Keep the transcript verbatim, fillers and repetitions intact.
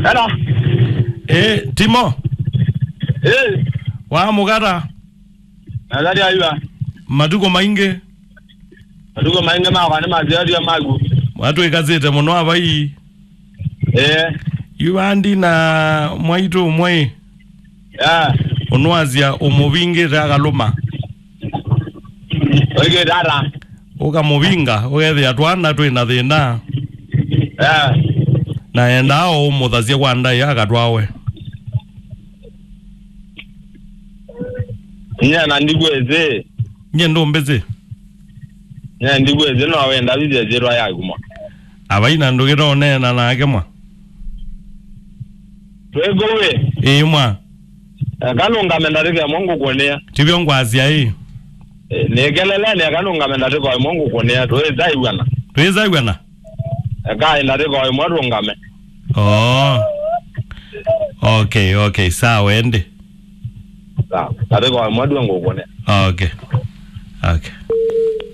Hello. Eh, Timo. Eh. Wa mũkata. Natharia iwa. Matukũ maingĩ. Matukũ maingĩ makwa nĩ maziaria maku. Mwatwĩkasĩte mũno avai. Eh. Yu vandi na mwaitũ ũmwe. Ya. Ũnwasya ũmũvingĩte akalũma. Oigĩte ata? Ũkamũvinga, ũkethĩa twana twĩ na thĩna. Ya. Na endaa o ũmũthasye kwa ndaĩa akatwawe. Nyie na ndikwĩsĩ. Nyie ndũmbĩsĩ. Nyie ndikwĩsĩ no wenda vizya syĩtwa yaku mwa. Avaina ndũkĩta ũneena nake mwa. Twĩkũwĩ. Ĩĩ mwa. Eka nũngame ndatĩka ĩmwe ngũkũnĩa. Tivyo ngwasya ĩ. Nĩkeleleni eka nũngame ndatĩka ĩmwe ngũkũnĩa. Twĩsa iw'ana. Twĩsa iw'ana? Eka ndatĩka ĩmwe tũngame. Oh. Okay, okay, sawa ende. Sawa. Ndatĩka ĩmwe ndue ngũkũnĩa. Okay. Okay.